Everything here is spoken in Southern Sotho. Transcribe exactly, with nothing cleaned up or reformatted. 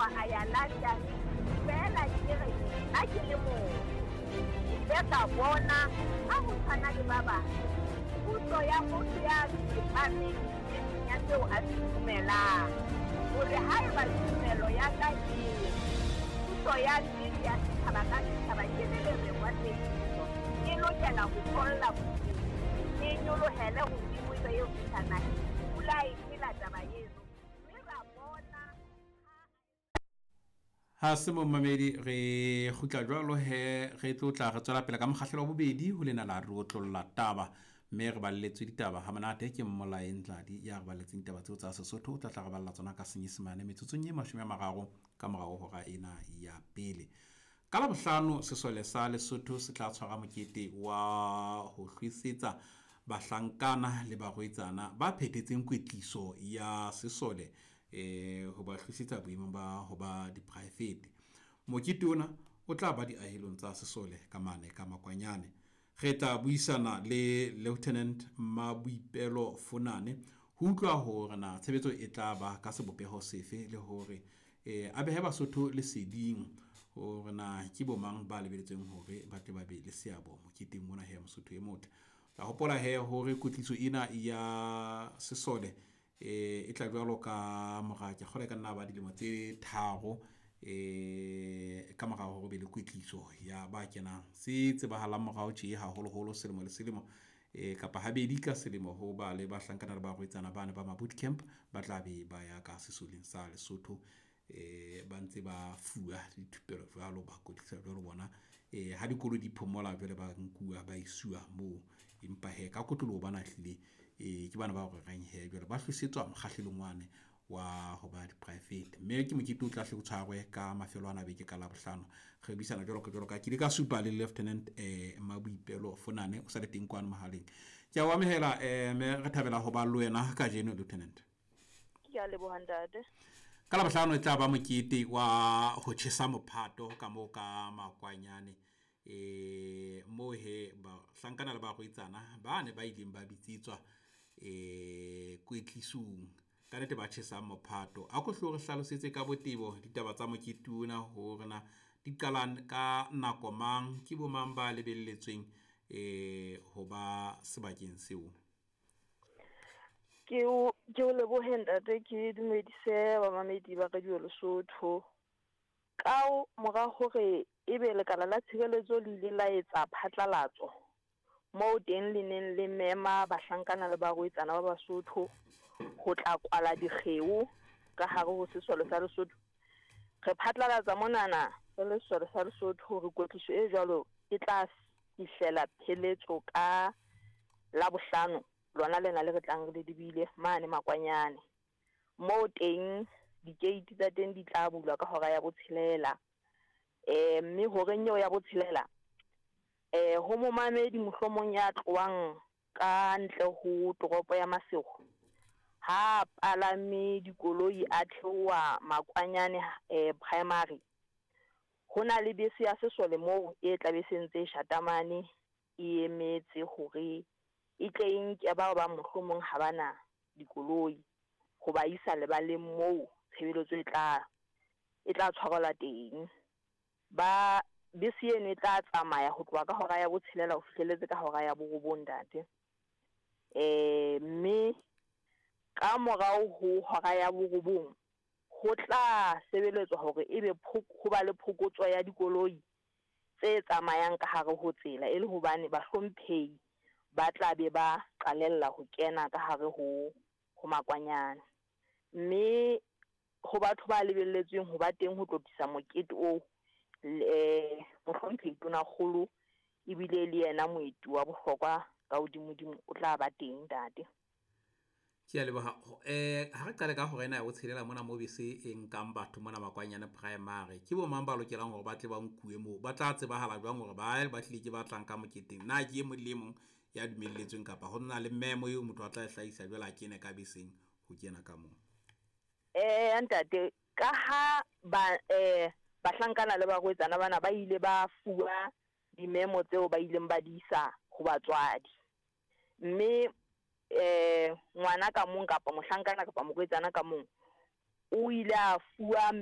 tswa a ya London, feela ke re nna ke le mong. Ke ile ka bona ha ho tshwana le ba bang, puso ya motho ya tsepameng nneteng ya seo a se dumelang. Hore haeba tumelo ya ka e re puso ya nnete ya setjhaba ka setjhaba ke le lerengwa tsebiso, e lokela ho tholla bophelong, e nyolohele hodimo e be eo fihla naheng. Pula e phela taba eno, mme ra bona Ha se momamedi re kgutla jwalo he re tlo tla re tswela pele ka mokgahlelo wa bobedi ho lena la re otlolla taba, mme re balletswe ditaba ha monate ke Mmolae Ntladi ya re balletseng ditaba tseo tsa Sesotho. O tla tla re balla tsona ka Senyesemane metsotsong e mashome a mararo ka morao hora ena ya pele. Ka Labohlano sesole sa Lesotho se tla tshwara mokete wa ho hlwesetsa bahlankana le barwetsana ba phethetseng kwetliso ya sesole eh ho ba hlwesetsa boemong ba ho ba diporaefete. Mokete ona o tla ba diahelong tsa sesole ka mane ka Makwanyane. Re tla buisana le Lieutenant Maboipelo Fonane ho utlwa hore na tshebetso e tla ba ka sebopeho sefe le hore eh a behe Basotho leseding hore na ke bo mang ba lebeletsweng hore ba tle ba be le seabo moketeng mona he Mosotho e motle. Tla hopola he hore kwetliso ena ya sesole eh e tla jwalo ka mora ke kgolwa e ka nna ba dilemo tse tharo eh ka mora hore be le kwetliso ya ba kenang se tsebahalang morao tje haholoholo selemo le selemo eh kapa habedi ka selemo ho ba le bahlankana le barwetsana bane ba ma boot camp ba tla be ba ya ka sesoleng sa Lesotho eh ba ntse ba fuwa dithupelo jwalo, ba kwetlisa jwalo bona eh ha dikolo di phomola jwale ba nkuwa ba isuwa moo. Empa he ka kotloloho bana hlile eh ke bana ba rerang he jwale ba hlwesetswa mokgahlelong wane wa ho ba diporaefete, mme ke mokete o tla hle o tshwarwe ka mafelo ana a beke ka Labohlano. Re buisana jwalo ka jwalo ka ke ile ka supa le Lieutenant eh Maboipelo Fonane o sa le teng kwano mohaleng. Ke a o amohela eh mme re thabela ho ba le wena kajeno Lieutenant. Ke a leboha ntate. Ka Labohlano e tla ba mokete wa ho tjhesa mophato ka moo ka Makwanyane eh moo he bahlankana le barwetsana ba ne ba ileng ba bitsetswa eh kwetlisong ka nnete ba tjhesang mophato. A ko hlo re hlalosetse ka botebo ditaba tsa mokete ona hore na di qalang ka nako mang, ke bo mang ba lebelletsweng eh ho ba sebakeng seo. Ke o ke o lebohe ntate, ke dumedise bamamedi ba Radio Lesotho. Ka mora hore ebe lekala la tshireletso le ile la etsa phatlalatso moo teng le neng le mema bahlankana le barwetsana ba Basotho ho tla kwala dikgeo ka hare ho sesole sa Lesotho. Re phatlalatsa monana re le sesole sa Lesotho hore kwetliso e jwalo e tla fihlela pheletso ka Labohlano lona lena le re tlang re le lebile mane Makwanyane. Moo teng dikeiti tsa teng di tla bulwa ka hora ya botshelela. Eh mme horeng eo ya botshelela eh ho momamedi mohlomong ya tlohang ka ntle ho toropo ya Maseru ha palame dikoloi a theoha Makwanyane eh primary, ho na le bese ya sesole moo e tla be se ntse e shatamane e emetse hore e tle e nke bao ba mohlomong ha bana dikoloi ho ba isa lebaleng moo tshebeletso e tla e tla tshwarelwa teng. Ba bese eno e tla tsamaya ho tloha ka hora ya botshelela ho fihlelletse ka hora ya borobong ntate. Eh mme ka morao ho hora ya borobong ho tla sebeletswa hore ebe ho ba le phokotso ya dikoloi tse tsamayang ka hare ho tsela, e le hobane bahlomphehi ba tla be ba qalella ho kena ka hare ho ho Makwanyane. Mme ho batho ba lebelletsweng ho ba teng ho tlotlisa mokete oo, eh mohlomphehi Tonakgolo ebile le yena moeti wa bohlokwa ka hodimodimo o tla ba teng ntate. Ke a leboha. Eh ha re qale ka hora ena ya botshelela mona mo bese e nkang batho mona Makwanyane primary, ke bo mang ba lokelang hore ba tle ba nkuwe moo? Ba tla tsebahala jwang hore ba ba tlile ke ba tlang ka moketeng? Na ke e mong le e mong ya dumelletsweng kapa ho na le memo eo motho a tla e hlahisa jwale a kene ka beseng ho kena ka moo? Eh ntate, ka ha ba eh bahlankana le barwetsana bana ba ile ba fuwa dimemo tseo ba ileng ba di isa ho batswadi, mme eh ngwana ka mong kapa mohlankana kapa morwetsana ka mong o ile a fuwa